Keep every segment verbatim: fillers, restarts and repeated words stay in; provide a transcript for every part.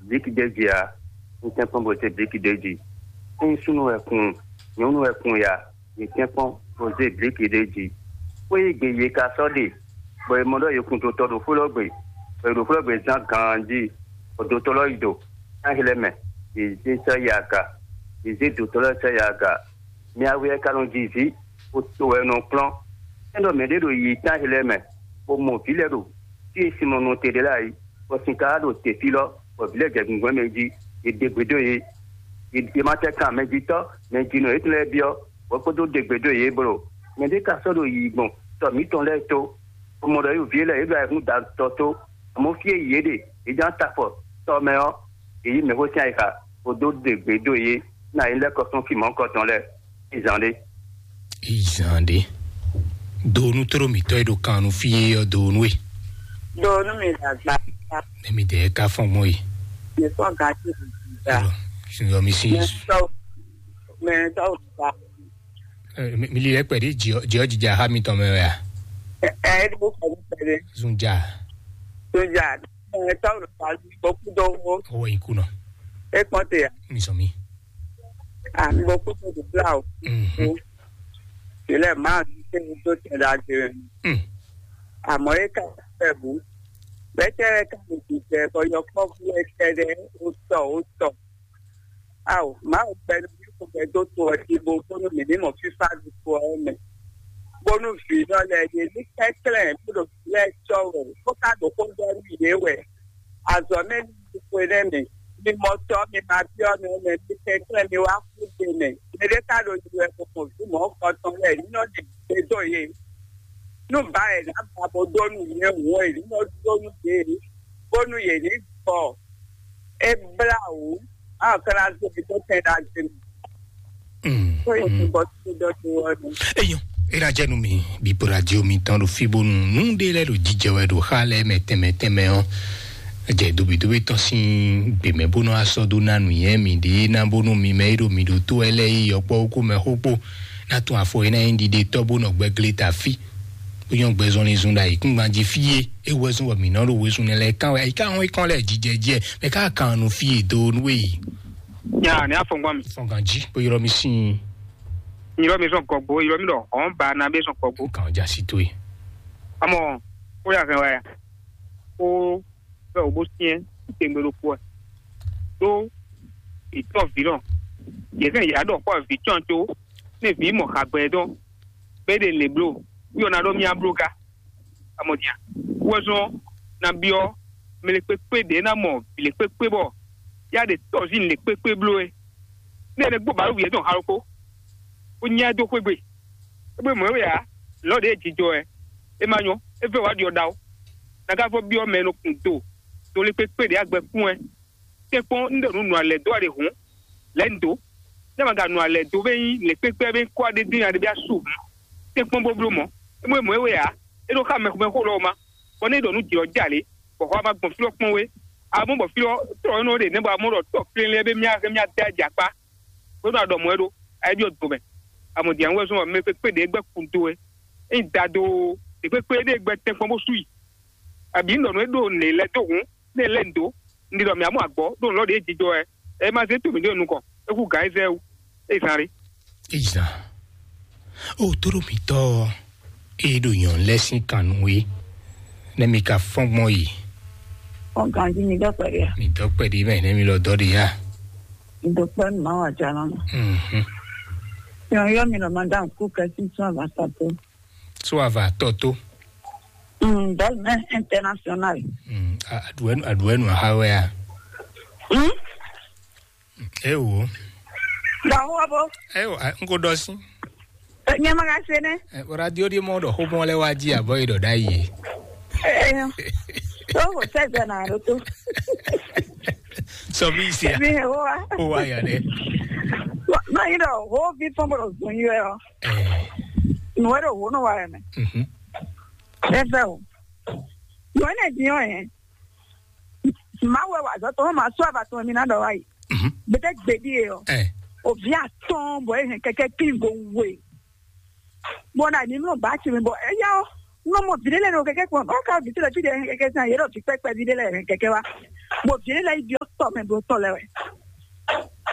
blíkì ɖ'é jí ǎ. Un tɛ́nkpɔ́n bó zé blíkì ɖ'é jí. Ényí súnnu wɛ kun, nyɔ̌nu wɛ kun ya, yě tɛ́nkpɔ́n bó zé blíkì ɖ'é jí. Xwé e gbe yě ka sɔ́ ɖe, bɔ è mɔ ɖɔ yě kun dotɔ ɖo xwé lɔ gbe, bɔ è ɖo xwé lɔ gbe zán ganjí, bɔ dotɔ lɔ yi do. Ná xlɛ́ mɛ, yě zé sɔ́ yi aga, yě zé dotɔ lɔ sɔ́ yi aga. Mɛ awe wɛ ka nɔ ji zǐ, bó to wɛ nɔ kplɔ́n. É ɖɔ mɛɖé ɖo yiyi tán e lɛ́ɛ mɛ, bó mɔ vǐ lɛ́ɛ ɖo fí e sin nɔ nɔ te ɖe lɛ́ɛ ǎ é, bɔ sin ka wá ɖo te fí lɔ, bɔ vǐ lɛ́ɛ jɛ gungbɛ́ mɛ jí, è ɖe gbe dó yě. È ma tɛ kan mɛjitɔ́, mɛjinɔ yětɔn lɛ́ɛ byɔ́, bɔ é kpódó ɖe gbe dó yě bló. Mɛɖé ka sɔ́ ɖo yiyi gbɔn tɔ mǐtɔn lɛ́ɛ tó, bó mɔ ɖɔ yě ɖo vǐ lɛ́ɛ yě ɖo ayihún da tɔ tó, amɔ̌ fí e yě ɖe, yě ján ta afɔ tɔ mɛ ɔ́, yě yí mɛxó sín ayixa, bó dó ɖe gbe dó yě, ná yě lɛ́ kɔ sɔ́n fí mɔ̌hunkɔtɔn lɛ́ɛ. Izan ɖé. Izan ɖé. Donu toro mǐtɔn e ɖo kan nu fí é ɔ́ donu e. Donu mi dàgbà. Nɛmi dɛ ka fɔn gbɔn e. Mi fɔn gati. Yɔ, yɔ mi si. Mɛ tɔw, mɛ tɔw gba. Mi li lɛ kpɛɖi jɔ jija ha mi tɔn mɛ wɛ a? Ɛ ɛ ɖo kpɛɖi kpɛɖi. Zunja. Zunja. Mɛ tɔw gba. Kpɔkú dɔwɔ. Owó yìí kùnà. E kpɔn te ya. Mi sɔ mi. Àmì kpɔkú tó dùn bla o. Mhm. Ìlẹ̀ máa ń ṣe ní tó tẹ̀ dá jẹ. Mm. Àmọ́ é ká fẹ́ bù. Bẹ́tẹ́ ká lè dùn jẹ bọ́ yọ kpɔkú ẹ tẹ́lẹ̀ ó tọ̀ ó tọ̀. Ao, Mawu gbɛɖo ní xo gbɛdó to ɔ́ jí bó bónú mǐ ní mɔ fífá ɖokpó ɔ́ mɛ. Bónú vǐnɔ lɛ́ɛ ɖe ní kɛnklɛ́n bó ɖo vǐ lɛ́ɛ cɔ́ wɛ, bó ka ɖo xó ɖɔ nú yě wɛ. Azɔ̌ mɛ ní xwe nɛ́ mɛ, mi mɔ tɔ́ mi ma byɔ́ mɛ mɛ, mi kɛnklɛ́n mi wá xú ɖe mɛ. Mɛɖé ka ɖo yi wɛ bó mɔ vǐ mɔ̌ kɔ tɔn lɛ́ɛ, ní nɔ ɖi gbé dó yě. Nú ba è nǎ ba bó dó nú yě hǔn è ní nɔ dó nú yě, bónú yě ní gbɔ. É blá wǔ, á ɔ́ ka ná zé mi dó tɛn ɖagbe mɛ. Mm, Tó yẹ kó mm. bɔ tó dɔ tó wɔ nù. Eyɔn, era jɛ nu mi bipo radio mi tɔn ɖo fi bonu nu ɖe lɛ ɖo jijɛ wɛ ɖo xa lɛ mɛ tɛmɛ tɛmɛ ɔ. Jɛ dobi dobi tɔn sin gbemɛ bonu asɔ do na nu yɛ mi ɖe na bonu mi mɛ yi ɖo mi ɖo to wɛ lɛ yi yɔkpɔ ko mɛ xo kpo na tun afɔ yi na yi ɖiɖe tɔ bo nɔ gbɛ gle ta fi. Bó nyɔ́ gbɛzɔnlin zun ɖo ayǐkúngban jí fí é, é wɛ zɔ́n bɔ mǐ nɔ ɖo wezun nɛ lɛ́ɛ kán wɛ, ayǐká hɔn é kán lɛ́ɛ jijɛ jɛ, mɛ ká kan nu fí é dó nú é yi. Nya ní afɔngban mi. Fɔngán jí, bó ylɔ́ mi sín. Ylɔ́ mi sɔn gɔgbo, ylɔ́ mi ɖɔ hɔn ba na bɛ sɔn gɔgbo. Kàn já sí tó é. Amɔ, ó yà hɛn wá ya. Ó bɛ wò bó syɛ́n tɛngbɛ ɖokpó ɛ. Ɖó ìtɔ́ vǐ nɔ. Yě hɛn yǎ ɖɔ xɔ vǐ tɔn tó. Ní vǐ mɔ xagbɛ dɔn. Bɛ ɖe lě bló. Yɔ na ɖɔ mía bló ga. Amɔ dia. Wɛzɔn na byɔ mɛ lɛ kpékpé ɖě ná mɔ vǐ lɛ kpékpé bɔ yá ɖe tɔzín lɛ kpékpé bló é. Ní ɛnɛ gbó bǎlú wǐyɛ́ dɔn ha ɖokpó. Ó nyá ɛ dó xwé gbe. É gbé mɔ̌ é wɛ ǎ. Lɔ̌ ɖě jijɔ ɛ. É má nyɔ́. É vɛ́ wá ɖyɔ ɖa ó. Nagáfɔ byɔ́ mɛ e nɔ kun do. Do lɛ kpékpé ɖě agbɛ kún ɛ. Tɛ́nkpɔ́n un ɖo nǔ nǔ alɛ dó wɛ ɖe hǔn, lɛ̌ un dǒ. Nɛ́ ma ka nǔ alɛ dó bɛ́ nyí lě kpékpé bɛ́ kó aɖé dín aɖé bɛ́ asú hǔn, tɛ́nkpɔ́n bó bló mɔ̌. É mɔ é mɔ é wɛ ǎ. É ɖó xá mɛxó mɛxó lɔ́ ɔ́ má, bɔ nɛ́ é ɖɔ nǔ jǐ ɔ́ jɛ alě, bɔ xɔ ɔ́ má gbɔn fí lɔ́ kpɔ́n wé. Amɔ̌ bɔ fí lɔ́ tlɔ énɛ́ ɔ́ ɖe nɛ́ bɔ amɔ̌ ɖɔ tɔ́ kplélé bɛ́ mì á hɛn mì á dɛ jɛ akpá, bó nɔ ɖɔ mɔ̌ é ɖó. Ayé byɔ́ do mɛ. Amɔ̌ din wɛ zɔ́n mɛ kpékpé ɖě gbɛ́ kun dó wɛ. Ényí da dó ɖě kpékpé ɖé gbɛ́ tɛ́nkpɔ́n bó sú i. Abǐ un ɖɔ nǔ e ɖo nǔ lɛ́ɛ dó hǔn, nú è lɛ́ nǔ dó, un ɖi ɖɔ mǐ amú agbɔ̌ ɖó nǔ lɔ ɖě jijɔ wɛ, é má zé to mǐ ɖó nukɔn, é hú gǎn é zɛ wú, é zán ɖé. Izan. O tóɖó mǐtɔn e ɖo nyɔ̌nu lɛ́ɛ sín kan nú we, nɛ́ mi ka fɔ́n gbɔn yi. Ɔ ganji mi dɔ kpɛɖe a? Mi dɔ kpɛɖe mɛ, nɛ́ mi lɔ dɔ ɖe ya. Mi dɔ kpɛ nu ma wa jana ma. Mhm. Yɔn yɔ mi lɔ ma da ku kɛ si sún ava sa to. Sún ava tɔ to. Mm, bɛl mɛ international. Mm, a- aɖuɛnu aɖuɛnu aha wɛ a? Mm? E wo. Dɔwɔ bo. E wo, a- n ko dɔ si. Nyɛ ma ka se ne. E, o radio di mɔ dɔ xomɔ lɛ wa ji abɔ yi dɔ da yi. E, e, o ko sɛ jɛ na do to. Sɔ mi si a. Mi he wo wa. O wa ya dɛ. Ma yi dɔ ho vi fɔn bo zun yi o. E. Nwe do ho no wa ya mɛ. Mhm. E fɛ o. Nwe ne di o yɛ. Mawu wɛ wa azɔ̌ tɔn ma sɔ́ ava tɔn mi ná ɖɔ wá yi. Mhm. Gbede gbedi e ɔ. Ɛ. Ovi atɔn bɔ e hɛn kɛkɛ kingo we. Bɔ na ni nɔ ba ti mi bɔ eya ɔ. Nɔ mɔ vi ɖe lɛ nɔ kɛkɛ kpɔn. Ɔ ka vi ti lɛ fi de hɛn kɛkɛ san yɛ lɔ fi pɛpɛ vi ɖe lɛ hɛn kɛkɛ wa. Bɔ vi ɖe lɛ yi bi ɔ. tɔ mɛ bló tɔ lɛ́ɛ wɛ.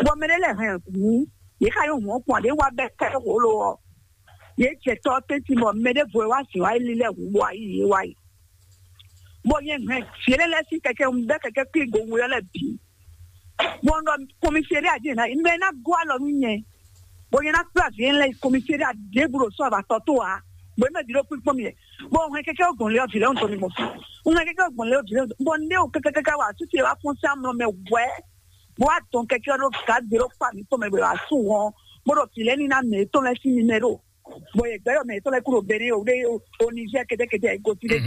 Bɔ mɛ ɖé lɛ́ɛ hɛn hǔn, yě xa nyɔ́ hǔn ɔ́ kpɔn ɖě wá bɛ́ kɛ́ hǒ lo ɔ́. Yě jɛ tɔ ɔ́ tɛ́ntin bɔ mɛ ɖěvo e wá zǐn wá yi lílɛ́ hǔn bɔ wá yi yě wá yi. Bɔ nyɛ hɛn vǐ énɛ́ lɛ́ɛ sín kɛkɛ un bɛ́ kɛkɛ kwín go we ɔ́ lɛ́ɛ bǐ. Bɔ un ɖɔ kɔmisi ɖé ají ná, un ɖɔ é ná gɔ́ alɔ nú nyɛ. Bɔ nyɛ ná kplá vǐ énɛ́ lɛ́ɛ yi kɔmisi ɖé aɖěbǔ ɖo sɔ́ avatɔ tó ǎ. Bɔ é mɛ bǐ ɖo kpínkpɔ́n mì wɛ. Bɔ un hɛn kɛkɛ ɔ́ gbɔn lé ɔ́ vǐ lɛ́ɛ un tɔn mi mɔ fí. Un hɛn kɛkɛ ɔ́ gbɔn lé ɔ́ vǐ lɛ́ɛ un tɔn. Bɔ un ɖé o kɛkɛ kɛkɛ wá asú ce wá fɔ́n sín amlɔ mɛ wɛ̌. Bó wá dɔn kɛkɛ ɔ́ ɖó gǎgbe ɖó kpa mǐtɔn mɛ bɔ è wǎ sú hɔn, bó ɖo vǐ lɛ́ɛ ní ná mɛ yětɔn lɛ́ɛ sín mimɛ ɖo. Bɔ yě gbɛ́ ɖɔ mɛ yětɔn lɛ́ɛ kú ɖo Benɛ́ o, ɖé o Nizɛ́ɛ kɛ́ɖɛ́kɛ́ɖɛ́ e gosín ɖé.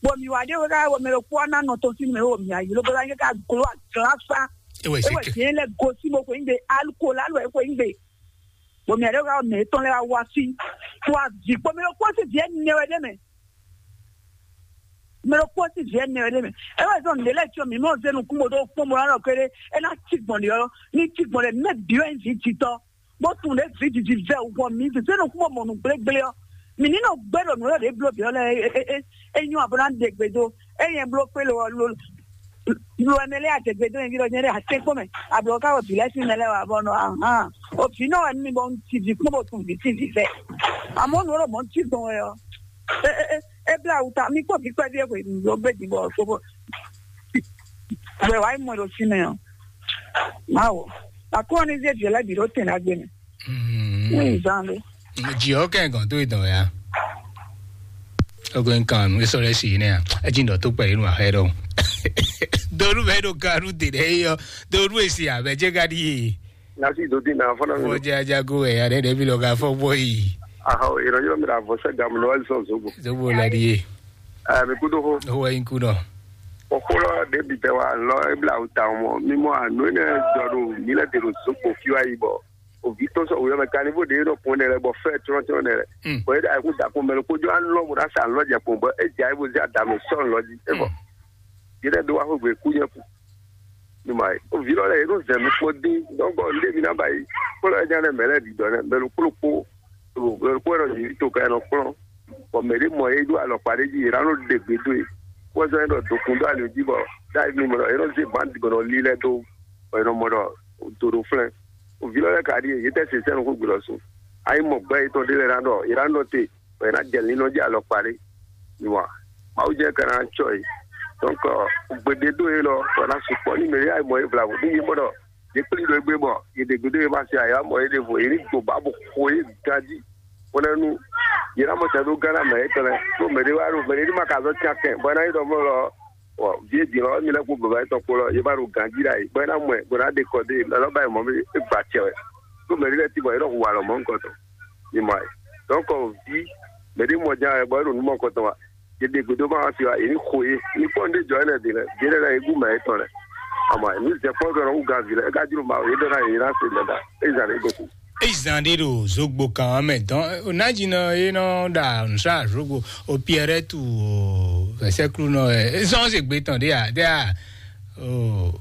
Bɔ mǐ wá ɖe wɛ ká bɔ mɛ ɖokpó ɔ́ ná nɔ tɔn sín mɛ o mǐ ayǐ lóbó ná nyɛ ká gló agláfá. É wɛ É wɛ zeke. Vǐ lɛ́ɛ gosín bó xweyígbe, alukol alɔ é xweyígbe. Bɔ mǐ aɖe wɛ ká bɔ mɛ yětɔn lɛ́ɛ wá wá fí. Wá vǐ kpó mɛ ɖokpó sín vǐ ɛnɛ wɛ ɖé mɛ. Mɛ ɖokpó sín vǐ ɛnɛ wɛ ɖé mɛ. É wɛ zɔn nǔɖé lɛ́ɛ cyɔ mǐ mɔ zé nukún bó ɖó kpɔ́n bó ná ɖɔ kéré. É ná cí gbɔn ɖě ɔ́, ní cí gbɔn ɖě mɛ bǐ wɛ nyí vǐ jitɔ́. Bó tunwun ɖě vǐ jiji vɛ wɔ mǐ zě nukún bó mɔ nǔ gblégblé ɔ́. Mǐ ní nɔ gbɛ́ ɖɔ nǔ lɛ́ɛ ɖě bló bǐ ɔ́ lɛ́ɛ é é é é nyɔ́ abo ná ɖe gbe dó. É nyɛ bló kpé lo ɔ́ lo lo ɛmɛ lɛ́ɛ adegbe dó nyɛ ví ɖɔ nyɛ ɖe atɛ́nkpɔ́n mɛ. Ablɔ ká wɔ vǐ lɛ́ɛ sín mɛ lɛ́ɛ wɛ abɔ nɔ ahan. O vǐ nɔ wɛ nú mi bɔ un ci vǐ kpɔ́n bó tunwun vǐ sín vǐ vɛ. Àmọ́ nǔ ɔ́ ɖɔ mɔ̌ un cí gbɔn wɛ ɔ́. É é é é blá awu ta mì kpɔ́ vǐ kpɛví e hwe nǔ dó gbé din bɔ fó bó. Wɛ wá yi mɔ ɖo fínɛ́ ɔ́. Mawu. Akɔ́ ní zé vǐ lɛ́ɛ bǐ ɖó tɛn ɖagbe mɛ. Ní zan ɖé. Jǐ ɔ́ kɛ gɔn tó ìdán ya. Ogo nkan nu esɔ lɛ si nɛ a. Edzi dɔ tó kpɛ yinu ahɛ dɔ. Donu bɛ do kanu de ɖe yɔ. Donu esi abɛ dze ka di ye. Nasi do di na fɔlɔ mi. Fɔ dza dza go wɛ ya ɖe ɖe bi lɔ ka fɔ bɔ yi. Ahɔ ìrọ̀lẹ́ mi ra vɔ sẹ́ gàmù lọ́wọ́ sọ zogbo. Zogbo la di ye. Ẹ mi kú dó hó. Owó yin kú dɔ. Òkúlọ̀ débi tẹ wa lọ ebla awu ta mɔ mímọ ànú ẹnẹ jọ ɖo mí lɛ te ɖo zogbo fí wa yi bɔ òví tó sɔ wòyɔ mɛ kanivo ɖe ɖɔ kun ɛnɛ lɛ bɔ fɛ trɔn trɔn ɛnɛ lɛ. Bɔn yɛ ɖe ayikun da kun mɛ lóko jɔ anlɔ mo ɖa sa anlɔ jɛ kun bɔ e dza ebo zɛ adame sɔ anlɔ ji e bɔ yɛ ɖe do wa xogbe ku nyɛ ku. Numa yi o vi lɔ lɛ yɛ ɖo zɛ mi kpɔ dín dɔnkɔ ndé mi na ba yi kpɔlɔ yɛ nya lɛ mɛ lɛ ɖi dɔ nɛ mɛ lóko lóko mɛ lóko yɛ nɔ yi to ka yɛ nɔ kplɔn bɔ mɛ ɖé mɔ yɛ ɖo alɔkpa ɖé ji yɛ ɖa nɔ ɖe gbe do yi kpɔzɔ yɛ nɔ dokun do ali ji bɔ da yi mi mɔ yɛ nɔ zé ban digɔnɔ li lɛ do bɔ yɛ nɔ mɔ ɖɔ do ɖo flɛn. Ovi lɔ lɛ ka ɖi yě tɛ se sɛnu xó gbe lɔ sun. Ayi mɔ gbɛ yetɔn ɖe lɛ na ɖɔ yě na nɔ te bɔ yě na jɛ linlɔn jí alɔkpa ɖé. Nua Mawu jɛ ka na tsɔ yi. Donc gbede do ye lɔ wɔ na sukpɔ ni mɛ ya mɔ ye vlavo ni ye mɔ ɖɔ ye kpli ɖo egbe bɔ ye ɖe gbedo ye ma se aya mɔ ye ɖevo ye ni gbo ba bo xo ye ganji. Bɔnɛnu yě na mɔ tɛ ɖo Ghana mɛ yětɔn lɛ ɖó mɛ ɖé wá ɖo mɛ ɖé ma ka zɔ tia kɛn bɔ ná yi ɖɔ mɔ lɔ. Ɔ vie din lɔ mi lɛ kó baba yetɔn kpó lɔ ye ba ɖo ganji ɖa yi bɔ ná mɔ ɛ bɔ ná ɖe kɔ dé lɔ ba yi mɔ mi e gba cɛ wɛ ɖó mɛ ɖé lɛ ti bɔ yě ɖɔ hu alɔ mɔ nukɔtɔn. Ni mɔ ɛ donc vi mɛ ɖé mɔ ján wɛ bɔ é ɖo nú mɔ kɔtɔn wa. Yě ɖe gbeɖé ma wá fi wa yě ní xo yé ní kpɔ́n ɖé jɔ énɛ́ din lɛ din lɛ lɛ yě gún mɛ yětɔn lɛ. Àmọ́ ní zɛ kpɔ́n gɔnɔ wú gan vǐ lɛ é ka jló ma yě ɖɔ ná yě ná se lɛ ɖa é zan lɛ gɔku. Eyi zan ɖé ɖo zogbo kan ɔ́ mɛ dɔn onájínɔ é nɔ ɖa nǔsá zogbo o piɛrɛtu o vɛsɛklunɔ ɛ zɔn se gbe tɔn ɖé a ɖé a o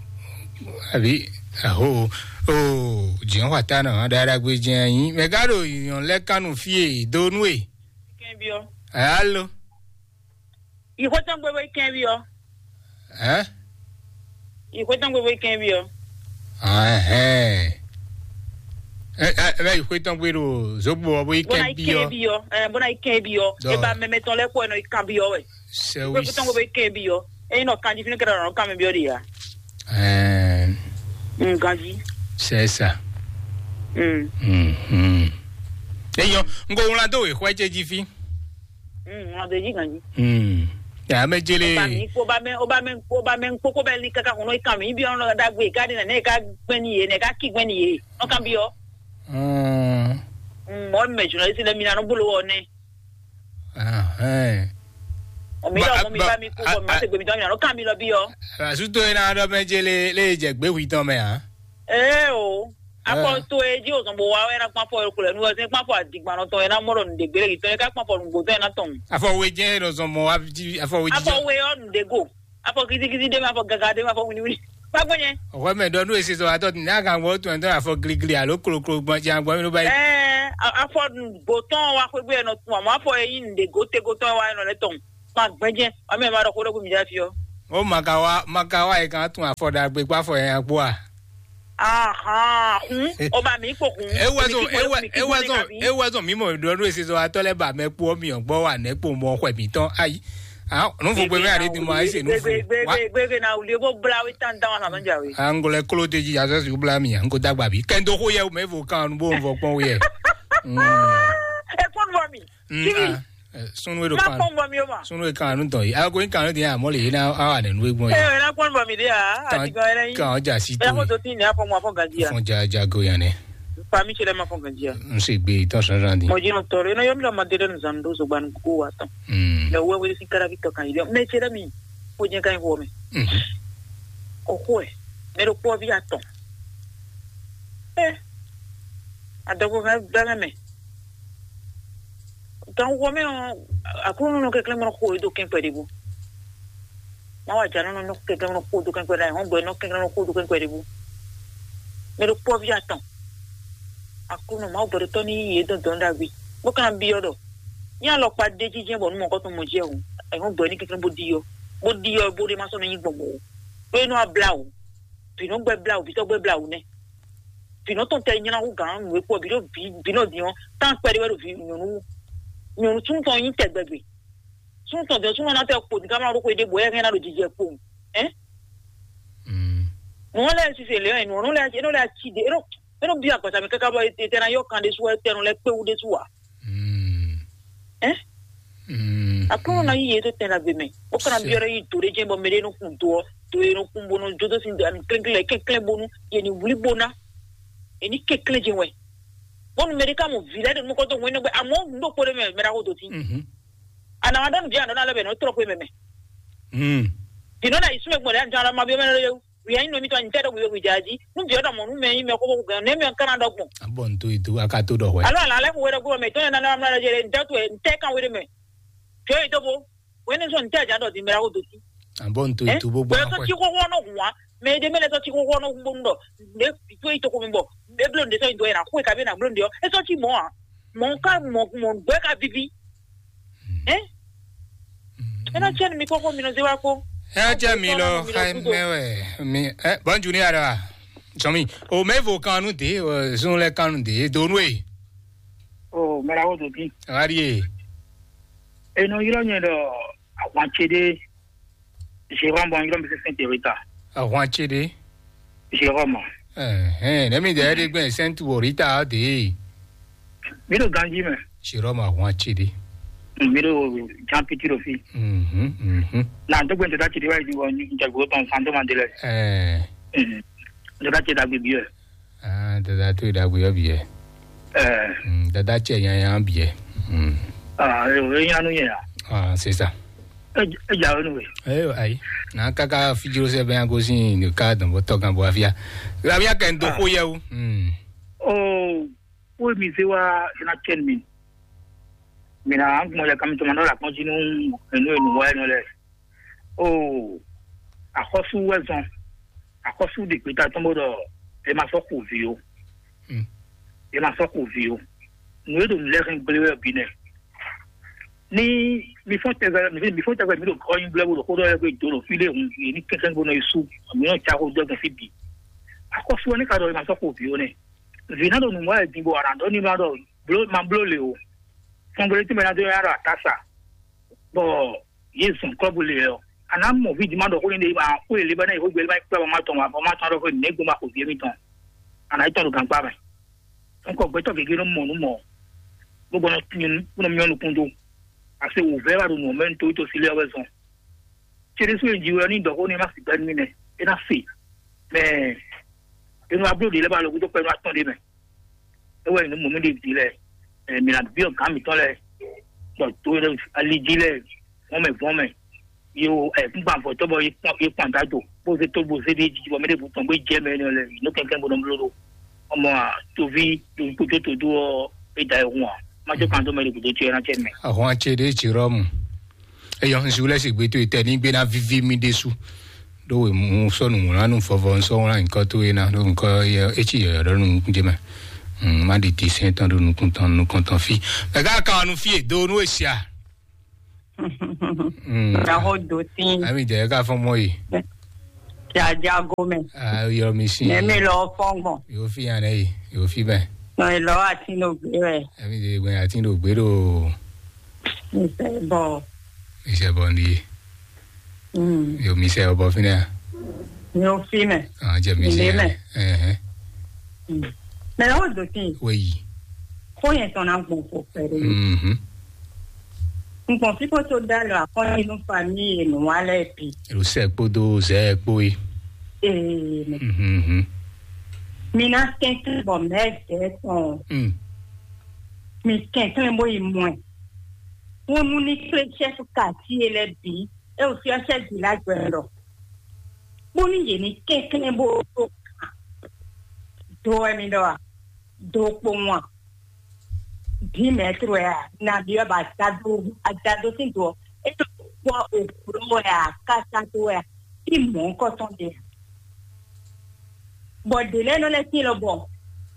àbí aho o jìnwɔn xɔ ata nɔ ɖaɖagbe jɛn anyi mɛ ká ɖo yɔn lɛ kanu fie do nú e. Kɛnbiɔ. Alo. Ìxótɔ́n gbé bó kɛnbiɔ. Ɛ? Ìxótɔ́n gbé bó kɛnbiɔ. Ɛhɛn. Ɛ ɛ ɛ ìxótɔ́n gbé ɖo zogbo ɔ bó yi Bó ná yi kɛnbiɔ. Kɛnbiɔ. Ɛ bó ná yi kɛnbiɔ. Dɔ. Eba mɛmɛ tɔn lɛ kpɔ ɛ nɔ yi kanbiɔ wɛ. Sɛwis. Ìxótɔ́n gbé bó kɛnbiɔ. Eyi nɔ kanji fínú kɛɖɛ nɔ kanbiɔ ɖi ya. Ɛɛ. Mm, ganji. C'est ça. Mm. Mhm. Eyɔ, n ko wlán dó wěxwɛ ce jí fí. Mm, wlán dó jí ganji. Mm. Ya mɛ jele. Oba mi kpo ba mɛ oba mɛ kpo ba mɛ kpokpo bɛ li kaka kɔnɔ ikan mi bi ɔnɔ dagbe ka di nɛ ne ka gbɛn ni ye ne ka ki gbɛn ni ye. Ɔn kan bi ɔ. Mm. Mm, mɔ mɛ journaliste lɛ mi na no bolo wɔ ne. Ahɛn. Omi lɔ mo mi ba mi kú bɔ mi ma se gbe mi tɔ mi na lɔ kan mi lɔ bi ɔ. Asuto ina dɔ mɛ je le le jɛ gbe hui tɔn mɛ a. Ee o. Afɔ to e ji o zɔn bo wa wɛ na kpɔn afɔ yɔrɔ kulɛ nu wɛ se kpɔn afɔ adigban nɔ tɔn yɛ na mɔ dɔ nu de gbele tɔn yɛ ka kpɔn afɔ nugbo tɔn yɛ na tɔn. Afɔ we jɛ dɔ zɔn mɔ wa ji afɔ we ji. Afɔ we ɔ nu de go. Afɔ gidigidi de ma afɔ gaga de ma afɔ winiwini. Kpakpɔ nyɛ. Ɔwɔ mɛ dɔ nu esi sɔ atɔ n'a kan gbɔ tɔn tɔn afɔ giligili alo kolokolo gbɔn jan gbɔ mi ló ba yi. Ɛɛ afɔ gbotɔn wa xwegbe yɛ nɔ tun amɔ afɔ yɛ yi nde go te gotɔn wa yɛ nɔ lɛ tɔn ma gbɛjɛ wa mɛ ma dɔ xo dɔ ko mi da fi ɔ. Ó makawa makawa e kan tún afɔ ɖagbe kpó afɔ yɛn kpó a? Ahan, hun, o ba mi kpo hun. Ewa zɔn ewa ewa zɔn ewa zɔn mi mɔ ɖɔ ɖo esi zɔn atɔ lɛ ba mɛ kpó mi ɔ gbɔ wa nɛ kpó mɔ xwɛ mi tɔn ayi. Ah, nu fo gbe mɛ ari dun ma ese nu fo. Gbegbe gbegbe na wuli bo bla wi tan dan wa na ja wi. Angolɛ kolo te ji azɔ si bla mi an ko dagba bi kɛndo ko yɛ o mɛ vo kan nu bo n vɔ kpɔn yɛ. Mm. E kɔn bɔ mi. Mm, Kiri. Ah, eh, sunu e ɖo Ma kan. Kpɔn bɔ mi o ma. Sunu e kan nu dɔn yi. A ko kan nu dɔn ya mɔ le na a wa ne nu e gbɔn E ya. Na kpɔn bɔ mi de ya. Kan Ati gan yɛrɛ yi. Kan ja si E to. Ko to tin ne afɔ mo afɔ ganji ya. Fɔn ja ja go ya ne. Fa mi chere ma fɔ ganji ya. N se gbe tɔn san san di. Mo ji no tɔrɔ. E na yɔ mi la ma de den zan do zo gban ko wa tɔn. Mm. Le we we si kara vi to kan yi. Me chere mi. Ko je kan ko mi. Mhm. Ko ko e. Me ro ko vi atɔn. Eh. Adɔgo kan bɛngɛ me. Gan xo mɛ ɔ́, Aklúnɔ nɔ kɛnklɛ́n mɔ xo e dó kɛn kpɛɖé bú. Má wa jǎ nɔ nɔ kɛnklɛ́n mɔ xo dó kɛn kpɛɖé, ayǐhɔ́ngbe nɔ kɛnklɛ́n mɔ xo dó kɛn kpɛɖé bú. Mɛ ɖo kpɔ́ví atɔn. Aklúnɔ Mawu gbɛɖotɔ́ ní yí yě dɔn dɔn ɖagbe. Bó ka ná byɔ́ ɖɔ: "Nyí alɔkpa ɖé jínjɛ́n bɔ nú mɔ̌kɔ́tɔn mɔ jɛ o, ayǐhɔ́ngbe ní kɛnklɛ́n bó ɖi ɔ́, bó ɖi ɔ́, bó ɖé má sɔ́ nɔ nyí gbɔn mɔ̌ ó. Ɖó é nɔ wá blá wǔ. Vǐ nɔ gbɛ blá wǔ, vǐ sɔ́ gbɛ blá wǔ nɛ́. Vǐ nɔ tɔn tɛ nylá hú gǎn nǔ e kpɔ vǐ ɖo vǐ vǐ nɔ dín ɔ́, tán kpɛɖé wɛ ɖo vǐ nyɔ̌nu wú. Nyɔ̌nu súnnu tɔn nyí tɛgbɛgbè. Súnnu tɔn dín súnnu ɔ́ ná tɛ kpo dín ká má ɖó xwé ɖěbǔ, wɛ é hɛn ná ɖo jijɛ kpowun. Ɛ? Mm. Nǔ ɔ́ lɛ́ɛ sise lě ɔ́, nǔ ɔ́ lɛ́ɛ é nɔ lɛ́ɛ ací ɖě, é nɔ é nɔ byɔ́ agbasa mɛ káká bɔ etɛ ná yɔ kan ɖésú wɛ tɛnu lɛ́ɛ kpé wú ɖésú ǎ. Mm. Ɛ? Mm. Aklúnɔ ná yí yě tó tɛn ɖagbe mɛ. Ó ka ná byɔ́ ɖɔ yí do ɖé jɛ́n bɔ mɛ ɖé nɔ kun do ɔ́, do e nɔ kun bó nɔ jó dó sin ami klɛ́nklɛ́n kɛ́nklɛ́n bónú yě ní wlí bó ná. Yě ní kɛ́nklɛ́n jɛ́n wɛ. Bónú mɛ ɖé ka mɔ vǐ lɛ́ɛ ɖo nukɔn tó hwɛ́n nɛgbɛ, amɔ̌ nǔ ɖokpó ɖé mɛ mɛ ɖaxó dó tín. Mhm. Anǎ wa ɖɔ nǔ ví anɔ ná lɛ́ bɛ nɔ trɔ xwé mɛ mɛ. Mm. Vǐ nɔ na yi súnmɛ gbɔn ɖě anjɔ alɔ ma byɔ́ mɛ lɔ yɛwu. Wia nyí nɔ mi tɔn nyi tɛ ɖɔ wíwé wíjà jí. Nú vǐ ɔ́ ɖɔ mɔ nú mɛ nyí mɛ xóxó gɛn, nɛ́ mɛ ɔ́ ka ná ɖɔ gbɔn. A bɔ n to yi do a ka to ɖɔ hwɛ. Alo ala lɛ xo wɛ ɖɔ gbɔ mɛ tɔn yɛ nana amla jɛ n tɛ to n tɛ kan wɛ ɖe mɛ. Jɔ yi to bo. Wɛ ne sɔ n tɛ ja ɖɔ di mɛ la ko do ti. A bɔ n to yi do bo gbɔ. Sɔ ti xóxó nɔ hun wa. Mɛ ɖe mɛ lɛ sɔ ti xóxó nɔ hun bonu ɖɔ. Ne to yi to ko mi bɔ. E blo n de sɔ yi do yɛ na xo e ka be na blo n de ɔ. E sɔ ti mɔ a. Mɔ ka mɔ mɔ gbɛ ka vivi. Ɛ? Ena tiɛ mi kɔkɔ mi nɔ ze wa ko. Ena tiɛ mi lɔ xa mɛ wɛ mi ɛ bɔn ju ni ara sɔmi o mɛ vo kan nu de o zun lɛ kan nu de do nu e. O mɛ la wo do bi. Ari e. Eno yirɔ nyɛ dɔ ahwan ce de. Jérôme bɔn yirɔ mi se sɛn terita. Ahwan ce de. Jérôme. Ɛhɛn, ne mi dɛ de gbɛ sɛntu wɔ rita de. Mi ɖo ganji mɛ. Sirɔ ma hɔn atsi ɖi. Mi ɖo jan piti ɖo fi. Mhm, mhm. Na dɔgbe ntɔda tsi ɖi wa yi wɔ njagbo tɔn san to ma de lɛ. Ɛɛ. Ntɔda tsi ɖagbe bi yɛ. Ah, dada to ɖagbe yɔ bi yɛ. Ɛɛ. Mm, dada tsɛ nyanya bi yɛ. Mm. Ah, e o e nyanu yɛ ya. Ah, c'est ça. E e ja wenu we. Ayo ayi. Na kaka fijiro sɛ bɛ agosin de ka dɔn bɔ tɔgan bɔ afia. Afia kɛ ndo ko yɛ o. Mm. Oh. Wo mi zé wá ná cɛn mi. Mi ná gbɔn ya kami tɔmɔ nɔ la kpɔn jí nú enu enu wá ɛnɔ lɛ. O axɔsu wɛ zɔn. Axɔsu ɖe gbeta tɔn bó ɖɔ e ma sɔ xo vi o. Mm. E ma sɔ xo vi o. Nu e ɖo nu lɛ hɛn gble wɛ bi nɛ. Ni mi fɔn tɛgbɛ mi mi fɔn tɛgbɛ mi ɖo kɔ nyi gble bo ɖo xó ɖɔ yɛ gbe do ɖo fi ɖe hun yi ni kɛkɛ bo nɔ yi su. Mi nɔ tsa xó dɔ gbɔn fi bi. Axɔsu wɛ ne ka ɖɔ e ma sɔ xo vi o nɛ. Vǐ ná ɖo nǔ wa wɛ din bɔ a nǎ ɖɔ n'i ma ɖɔ bló ma bló le o. Fɔngblétí mɛ ná dó nyá ɖo atasa, bɔ yě zɔn kɔ́bú le ɔ́, a nǎ mɔ vǐ jí ma ɖɔ xó ní ɖe ma xó yě lé bá ná yě xó gbé lé ma kplá bɔ ma tɔn bɔ ma tɔn ɖɔ xó nǐ gbɔn ma xo vǐ émítɔn. A nǎ yi tɔn ɖo gankpá mɛ. Nukɔ gbɛtɔ́ gěgé nɔ mɔ nǔ mɔ, bó gbɔn nɔ nɔ myɔ nukún dó. A se wǔvɛ́ wá ɖo nǔ ɔ́ mɛ ní torí tó sílé ɔ́ wɛ zɔn. Céɖésú e jí wɛ ní dɔ̌xó ní ma sì gbɛ́ nú mì nɛ́, é ná se. Mɛ enu abló ɖě lɛ́ɛ ba lɔ gúdo kpɛ́nú atɔ́ ɖé mɛ. É wɛ nyí mɔ̌ mì ɖe ví lɛ́ɛ, mǐ ná byɔ́ gǎn mǐtɔn lɛ́ɛ, bɔ do e ali jí lɛ́ɛ, vɔ́n mɛ vɔ́n mɛ, yi o ɛ kúngban vɔ̌tɔ́ bɔ yi kpɔn yi kpɔn dá do, bó zé tó bó zé ɖé jí bɔ mɛ ɖěbǔ tɔn gbé jɛ mɛ énɛ́ lɛ́ɛ, nǔ kɛnklɛ́n bó nɔ bló ɖó. Ọmọ a, toví lóyún kó tó tó dó ɔ́, é da ɛ hun a. Má jɔ kan dó mɛ ɖě gúdo tí ɛ ná cɛ mɛ. Ahɔn acɛ ɖe ci Rɔmu. Eyɔ, n si wlɛ́ si gbe towe tɛ ní gbé ná víví mì ɖésú. Ɖó wě mú sɔ́ nǔwlánú vɔvɔ ń sɔ́ wlán nyǐkɔ towe ná, ɖó nyǐkɔ yɛ é cí yɔ̌yɔ́ ɖɔ nú nukún ce mɛ. Má ɖi ti sɛ́n tɔn ɖó nukún tɔn nukɔn tɔn fí. Mɛ ká kan ɔ́ nú fí e dó nú e sia. Mm. Ɖaxó dó tín. Ami jɛ ka fɔn mɔ yi. Jajago mɛ. Ah, yɔ mi si. Mɛ mi lɔ fɔn gbɔn. Yo fi yan yi. Yo fi bɛ. Nɔ ilɔ ati no gbé wɛ. Ami de gbɛ ati no gbé do. Nsɛ bɔ. Nsɛ bɔ ndi. Mm. Yo mi sɛ bɔ fi na. Yo fi mɛ. Ah, jɛ mi si. Ilé mɛ. Eh, eh. Mm. Mɛ o dó tín. Oui. Kó yẹn tɔn na gbɔn fo pɛrɛ. Mhm. Ngbɔn fífó tó dá lɔ akɔ́nyinú famíyi e nǔ wa lɛ́ɛ bǐ. Ɖo sɛ kpódó zɛ kpó yi. Ee, mɛ. Mhm. Mi ná kɛnklɛ́n bɔ mɛ̌ zɛ tɔn. Mm. Mi kɛnklɛ́n bó yi mɔ ɛ. Wónú ní kplé chɛ́fu kati e lɛ́ɛ bǐ, é wò fyɔ́ chɛ́ vǐ lá gbɛ ɖɔ. Bónú yě ní kɛnklɛ́n bó ɖó kan. Do wɛ mi ɖɔ a? Do kpowun a? Dǐ mɛ̌tru wɛ a? Nabí wɛ ba adado adado sín do ɔ́? É ɖo kpɔ́ òbló wɛ a? Kásádo wɛ a? Í mɔ̌kɔtɔn ɖe a? Bɔ ɖě lɛ́ɛ nɔ lɛ́ tín lɔ bɔ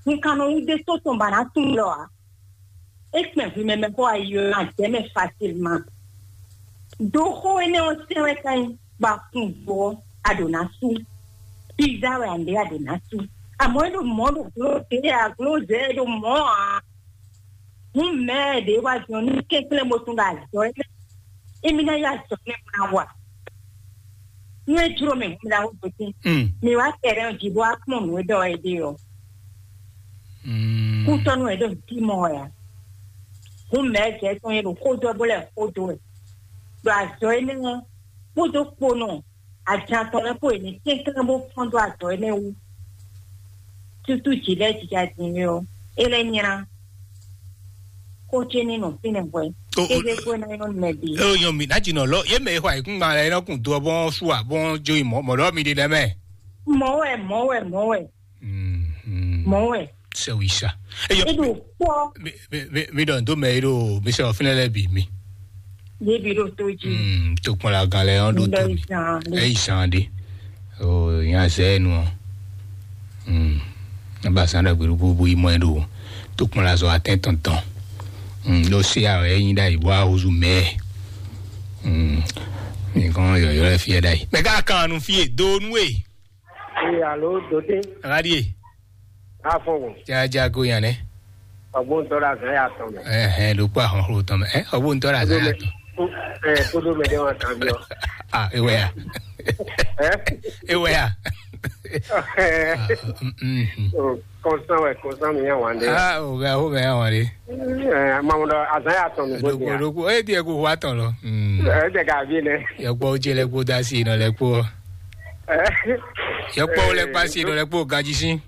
hun kan nɔ wú ɖé tó tɔn ba ná tunwun lɔ a? É kpɛn hwi mɛ mɛ xó ayi ɔ́ ná jɛ mɛ facilement. Do xó énɛ́ ɔ́ sɛn wɛ ká nyí ba kun do ɔ́, a ɖǒ ná sú. Pizza wɛ a ɖě a ɖǒ ná sú. Àmọ́ é ɖo mɔ̌ ɖo gló ɖě a gló zɛ é ɖo mɔ̌ ǎ. Hǔn mɛ ɖě wá jɔ ní kɛnklɛ́n bó tún ɖo azɔ̌ énɛ́. Émí ná yá azɔ̌ énɛ́ bó ná wa. Nú é jló mɛ hǔn mi ná wú gosín. Mm. Mi wá tɛrɛn jí bó wá kpɔ́n nǔ e ɖɔ é ɖe ɔ́. Mm. Kútɔ́nú wɛ ɖo nǔ tí mɔ wɛ ǎ. Hǔn mɛ̌ jɛ tɔn e ɖo xó dó ɛ bó lɛ́ xó dó wɛ. Ɖo azɔ̌ énɛ́ ɔ́, kpódó kponɔ ajan tɔn lɛ́ɛ kpó e ní kɛnklɛ́n bó fɔ́n dó azɔ̌ énɛ́ wú. Tútú jǐ lɛ́ɛ jija din é ɔ́, é lɛ́ nylá. Xó ce ní nɔ fínɛ́ hwɛ. Kéze kó ná nyɔ́ mɛ bǐ. Eo nyɔ mi ná jinɔ lɔ ye mɛ xɔ ayikungban lɛ nɔ kun do bɔn su a bɔn jo yi mɔ mɔ lɔ mi de dɛ mɛ. Mɔ wɛ, mɔ wɛ, mɔ wɛ. Mm, mm. Mɔ wɛ. Sɛ wi sa. Eyɔ. Eɖo kpɔ. Mi mi mi mi dɔn do mɛ eɖo mi sɛ ɔfinɛ lɛ bi mi. Ye bi ɖo to ji. Mm, to kpɔn la gan lɛ ɔn do to mi. Eyi san de. O nya zɛ nu ɔ. Mm. Aba san ɖagbe ɖo bubu yi mɔ ɛ ɖo. To kpɔn la zɔ atɛ tɔntɔn. Mm, ɖo se a ɛ nyi ɖa yi bɔ ahuzu mɛ. Mm. Mi kɔn yɔyɔ lɛ fiɛ ɖa yi. Mɛ ka kan nu fie do nu e. Ee, alo, Dote. Aɖie. Afɔwɔ. Jaja go yan nɛ. Ɔgbɔn tɔ la zan ya tɔn mɛ. Ɛhɛn, ɖo kpɔ ahɔn xlo tɔn mɛ. Ɛ, ɔgbɔn tɔ la zan ya tɔn. Ɛ, kodo mɛ de wa kan bi ɔ. Ah, ewɛ ya. Ɛ? Ewɛ ya. Ɛ. Ah, mm, mm, mm. O, kɔnsán wɛ, kɔnsán mi yà wà ndé. Ah, o bɛ, o bɛ yà wà ndé. Ɛ, mamu dɔ azan ya tɔn mi bó di ya. Ɖokpo, ɖokpo, e diɛ ko wa tɔn lɔ. Mm. Ɛ, tɛ ka bi nɛ. Yɔkpɔ o jɛ lɛ kpo da si nɔ lɛ kpo. Ɛ. Yɔkpɔ o lɛ kpa si nɔ lɛ kpo gaji si.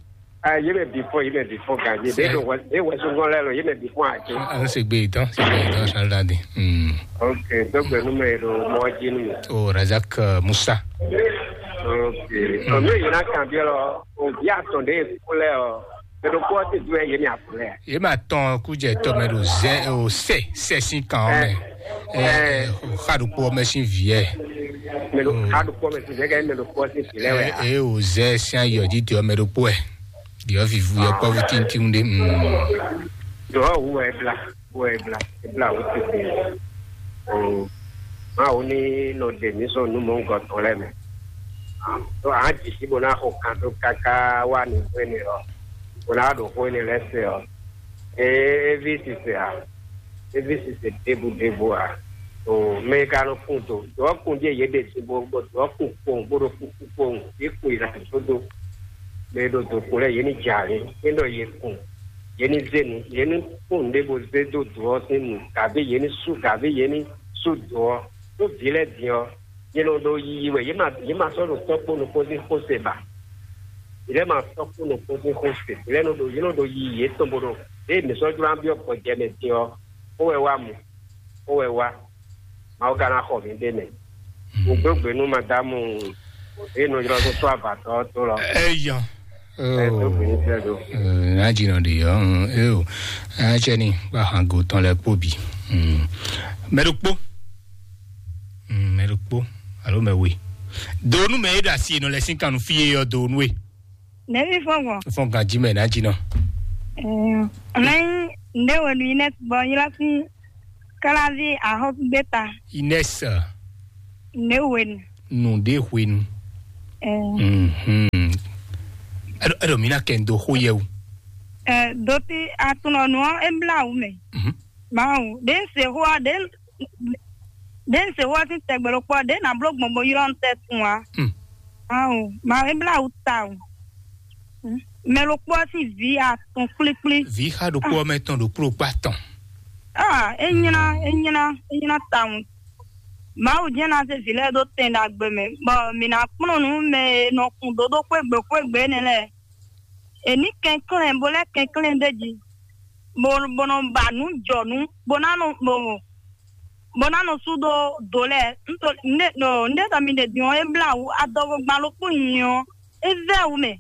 Ah, ye mɛ before, ye mɛ before gaji. Sɛ. De do wɛ, de wɛ sungbɔn lɛ lo, ye mɛ before a ce. An se gbe tɔn, se gbe tɔn san la di. Hmm. Ok, donc nous mais le mɔji nu. O Razak, euh, Musa. Ok. Mm. Ɔmɛ yina kan bi lɔ, o bi atɔn de kulɛ ɔ. Mɛ ɖokpó ɔ́ te dó ɛ yě mɛ ablɛ́. Yě ma tɔn kújɛ tɔmɛ ɖo zɛ o sɛ sɛ sín kan ɔ́ mɛ. Ɛ, ɛ, xa ɖokpó ɔ́ mɛ sín vǐ ɛ. Mɛ ɖo xa ɖokpó ɔ́ mɛ sín vǐ ɛ kɛ mɛ ɖokpó ɔ́ sín vǐ lɛ wɛ a? Ɛ, ɛ o zɛ sín ayɔ jí diɔ mɛ ɖokpó ɛ. Diɔ vivu yɔ kpɔ́vú tíntín ɖé. Mm. Dɔɔ wu wɛ bla, wu wɛ bla, bla wu tete. O, ma wo ni nɔ de mi sɔn nu mɔ ŋgɔ tɔn lɛ mɛ. Dɔɔ a jisi bo na xɔ kan tó kaka wa ni hwene ɔ. Bó ná ɖo xó énɛ́ lɛ́ɛ se ɔ́, é ví sise ǎ, é ví sise ɖěbǔ ɖěbǔ ǎ. O mɛ e ka nɔ kun do dɔ̌kun ɖíe yě ɖe sin bó bó dɔ̌kun kpowun bó ɖo kúkú kpowun, yě kun yi na dó dó. Mɛ e ɖo dǒkun lɛ́ɛ, yě ní jɛ alě, é ɖɔ yě kun, yě ní zé nu, yě ní kpɔ́n nǔɖé bó zé dó dǒ ɔ́ sín nu, gǎvé yě ní sú, gǎvé yě ní sú dǒ ɔ́. Ɖó vǐ lɛ́ɛ din ɔ́, yě nɔ ɖo yiyi wɛ, yě ma yě ma sɔ́ ɖo tɔ́ kpó nukpó sín xó se ba. Yě lɛ́ɛ ma sɔ́ kpó nukpó sín xó se, yě lɛ́ɛ nɔ ɖo yě nɔ ɖo yiyi yětɔn bó ɖo. Ée mǐ sɔ́ jló ná byɔ́ gbɔjɛ mɛ din ɔ́, xó wɛ wá mu, xó wɛ wá. Mawu ka ná xɔ mǐ ɖe mɛ. Mo gbégbé nú madámu e nɔ ylɔ́ dó sɔ́ avatɔ ɔ́ tó lɔ. Eya. Ɛ tó gbé ní sɛ do. Ná dzi nɔ ɖi ɔ. Eo. Atsɛ ni ba han go tɔn lɛ kpó bi. Mɛ ɖokpó. Mɛ ɖokpó alo mɛ we. Donu mɛ e ɖo asi nɔ lɛ sín kan nú fí e yɔ donu e. Nɛvi fɔn gbɔn. Fɔn kan jí mɛ ná jí nɔ. Ɛɛ, ɔnà yín ndé wɛ nu yín nɛ bɔ yín lásán. Kláví ahɔ́súgbéta. Inès. Nǔɖé hwenu. Nǔɖé hwenu. Ɛɛ. Mhm. Eɖɔ eɖɔ mi na kɛ ndo xó yɛ o. Ɛɛ, doti atunɔ nǔ ɔ́, é blá wǔ mɛ. Mhm. Mawu, ɖé ń se xó ɔ́, ɖé ń ɖé ń se xó ɔ́ sín tɛgbɛ ɖokpó ɔ́, ɖé ná bló gbɔn bó ylɔ́ ń tɛ́ tun ǎ. Hmm. Ao, ma é blá wǔ tawun. Hmm. Mɛ ɖokpó ɔ́ sín vǐ atɔn kplíkplí. Vǐ xa ɖokpó ɔ́ mɛ tɔn ɖokpó ɖokpó atɔn. Ah, é nylá, é nylá, é nylá tawun. Mawu jɛ́n ná zé vǐ lɛ́ɛ ɖó tɛn ɖagbe mɛ, bɔ mǐ ná kplɔ́n nǔ mɛ e nɔ kun dó ɖó xwégbe xwégbe énɛ́ lɛ́ɛ. È ní kɛnklɛ́n bó lɛ́ kɛnklɛ́n ɖ'é jí, bó bó nɔ ba nǔ jɔ nǔ, bó ná nɔ bó bó ná nɔ sú dó do lɛ́ɛ. Ńtó ńɖé ɖɔ mi ɖe din ɔ́, é blá wǔ adɔgo gban ɖokpó nyi ɔ́, é vɛ́ wǔ mɛ,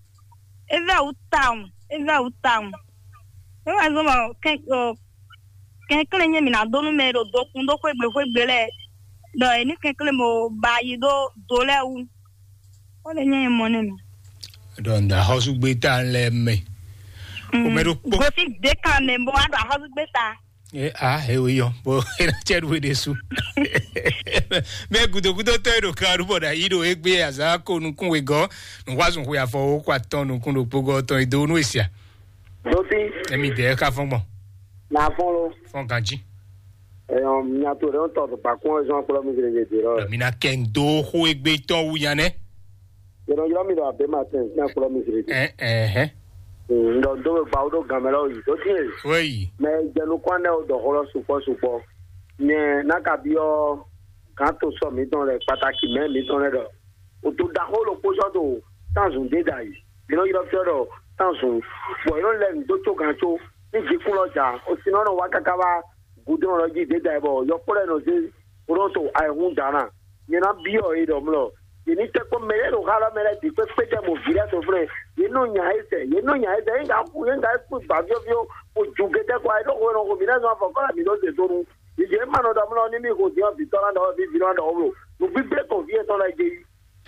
é vɛ́ wǔ tawun, é vɛ́ wǔ tawun. É wɛ zɔ́n bɔ kɛn ɔ, kɛnklɛ́n nyɛ mǐ ná dó nú mɛ e ɖo dokun ɖó xwégbe xwégbe lɛ́ɛ, ɖɔ è ní kɛnklɛ́n bó ba yi ɖó do lɛ́ɛ wú. Ó lè nyɛ mɔ nɛ mɛ. Ɖɔ ŋda xɔsúgbéta lɛ mɛ. O mɛ ɖo kpó. Gosi de kan mɛ bɔ wa ɖo axɔsúgbéta. E a e o yɔ bo ena cɛ ɖu ɖe su. Mɛ gudogudo tɔ e ɖo kan ɖu bɔ ɖa yi ɖo egbe azan ko nukun wegɔ nukwasun xwe afɔ wo kɔ atɔn nukun ɖo kpogɔ tɔn e do nu esia. Doti. Emi de ka fɔn gbɔn. Na fɔn lo. Fɔn ganji. Eyɔn miato ɖe ŋutɔ ɖo bakún ɔ́ zɔn kplɔ mi zrezre ɖe lɔ. Mi na kɛ ndo xo egbe tɔn wu nya nɛ. Yɛnɛ ylɔ mi ɖo abe matin sin akplɔ mi zrezre. Ɛ ɛ hɛ. Ndɔ ndo be gbawo ɖo gan mɛ lɔ yi ɖo tie. Wei. Mɛ jɛnu kwan ɖe o dɔ xɔ lɔ sukpɔ sukpɔ. Nyɛ na ka bi ɔ gan to sɔ mi dɔn lɛ pataki mɛ mi dɔn lɛ dɔ. O to da xɔ lo kpozɔ do tanzun de da yi. Bi nɔ ylɔ fiɔ dɔ tanzun. Bɔ ylɔ lɛ ndo tso gan tso. Ni jikun lɔ ja. O si nɔ nɔ wa kaka wa gudɔn lɔ ji de da yi bɔ yɔkpɔ lɛ nɔ ze. O nɔ to ayihun dana. Nyɛ ná byɔ́ yě ɖɔ mlɔ. Yě ní tɛ́ kpɔ́n mɛ lɛ́ɛ ɖo xá lɔ mɛ lɛ́ɛ bǐ kpékpé tɛ mo vǐ lɛ́ɛ tɔn flɛ́. Yě nɔ nya yí sɛ, yě nɔ nya yí sɛ, yín ka ku, yín ka kú gbǎ fyɔ́fyɔ́, bó ju gétɛ́ kɔ, ayé ɖó xwe nɔ xo mǐ lɛ́ɛ zɔn afɔ kɔ́ là mǐ ɖó zě dó nu. Yě jɛ ma nɔ ɖɔ mlɔ ní mí xo dín ɔ́ vǐ tɔn ná ɖɔ ɔ́, vǐ vǐ ná ɖɔ ɔ́ bló. Nǔgbígbé tɔn vǐ yětɔn lɛ́ɛ jɛ yí.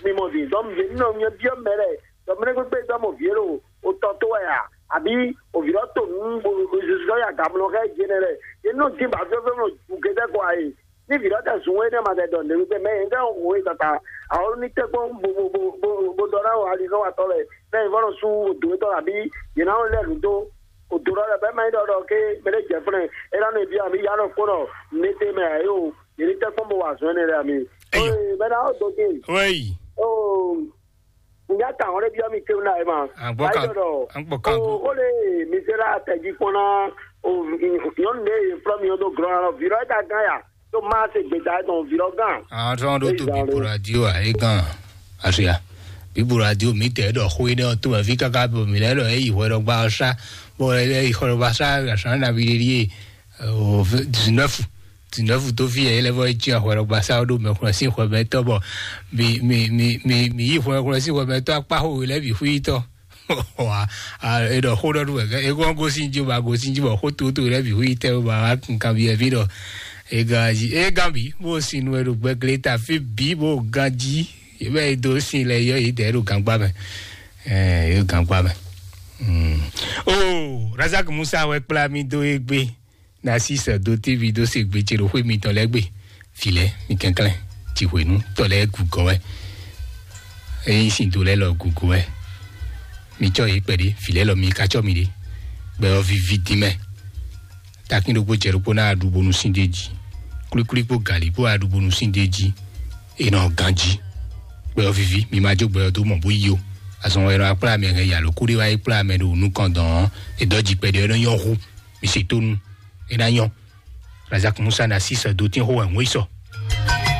Mi mɔ vǐ, dɔn yě nɔ nyɛ byɔ́ mɛ lɛ́ɛ, dɔ mɛ lɛ́ɛ kpékpé dɔ́ mɔ vǐ é ɖo o tɔ tó wɛ a? Àbí o vǐ lɔ to nǔ bo zuzɔ ya gamlɔ xɛ jɛ nɛ lɛ. Yě nɔ dín bǎ fyɔ́fyɔ́ nɔ ju gétɛ́ kɔ ayé. Ní vǐ lɔ tɛ zun énɛ́ ma tɛ dɔ nǔɖé mɛ yě ŋgá xo é tata. Awɔ́ ní tɛ́ kpɔ́n bo bo bo bo bo dɔ ná wɔ ali xɔ atɔ lɛ. Mɛ yě vɔ nɔ sú dǒ tɔ abí yě ná lɛ nǔ dó. O dǒ lɔ lɛ bɛ ma nyí ɖɔ ɖɔ ké mɛ ɖé jɛ flɛn. É ná nɔ ibi ami ya nɔ kpɔ́n nɔ nété mɛ ayé o. Yě ní tɛ́ kpɔ́n bo wa zɔn énɛ́ lɛ ami. Eyo. Oye mɛ ná ó dó dé. Wéyi. Oo. Nya ta hɔn ɖe byɔ́ mi tewu na ema. Agbɔ kan. Agbɔ kan go. O le mi se la tɛ ji kpɔn na. O nyɔnu ɖe ye flɔ mi o do glɔn na lɔ vi lɔ ta gan ya. To ma se gbeta etɔn vi lɔ gan. Àwọn tí wọn tó tó bíbu radio à é gan àṣeyà. Bíbu radio mi tẹ̀ ẹ́ dọ̀ xó iná tó wẹ̀ fi káká bò mí lẹ́dọ̀ ẹ́ yìí hwẹ́ dọ́gba ọ̀ṣá. Bó ẹ́ yìí hwẹ́ dọ́gba ṣá àṣà nàbí lè rí ẹ̀. O dix-neuf, dix-neuf tó fi ẹ̀ lẹ́fọ́ ẹ̀ tí àhwẹ́ dọ́gba ṣá ó dó mẹ́kúnrẹ́ sí hwẹ́ mẹ́tọ́ bọ̀. Mi mi mi mi mi yìí hwẹ́ mẹ́kúnrẹ́ sí hwẹ́ mẹ́tọ́ apá hó lẹ́bí xwí tọ́. Wa, a, e ɖɔ xó ɖɔ ɖu wɛ, e kɔn gosin ji ba gosin ji bɔ xó toto ɖe bi hu yi tɛ ba wa kun kan bi evi ɖɔ. E gan ji, e gan bi, bo sin nu e ɖo gbɛgle ta fi bi bo gan ji, e bɛ e do sin lɛ yɔ yi dɛ ɖo gangba mɛ. Ɛ, e gangba mɛ. Mm. O, Razak Musa wɛ kpla mi do egbe. Narcisse do tévi dó se gbe ce ɖo xwé mitɔn lɛ́ɛ gbe. Vǐ lɛ́ɛ, mi kɛnklɛ́n, jǐhwenu tɔ lɛ́ɛ gǔgɔ́ wɛ. Ényí sin do lɛ́ɛ lɔ gǔgɔ́ wɛ, mi cɔ́ yě kpɛɖé, vǐ lɛ́ɛ lɔ mi ka cɔ́ mi ɖé. Gbɛ ɔ́ víví dín mɛ. Takín ɖokpó jɛ ɖokpó ná ɖu bónú sín d'é jí. Klíklí kpó gǎlí kpó wá ɖu bónú sín d'é jí. È nɔ ganjí. Gbɛ ɔ́ víví, mi ma jó gbɛ ɔ́ dó mɔ bó yí o. Azɔn wɛ nɔ akplá mɛ hɛn yǎ ló kú ɖé wá yi kplá mɛ ɖo nukɔn dɔn ɔ́, è dɔ́ jí kpɛɖé ɔ́ nɔ nyɔ́ hú. Mi se tónú. É ná nyɔ́. Razak Musa na sísɔ dó tín xó wɛ ń wé sɔ.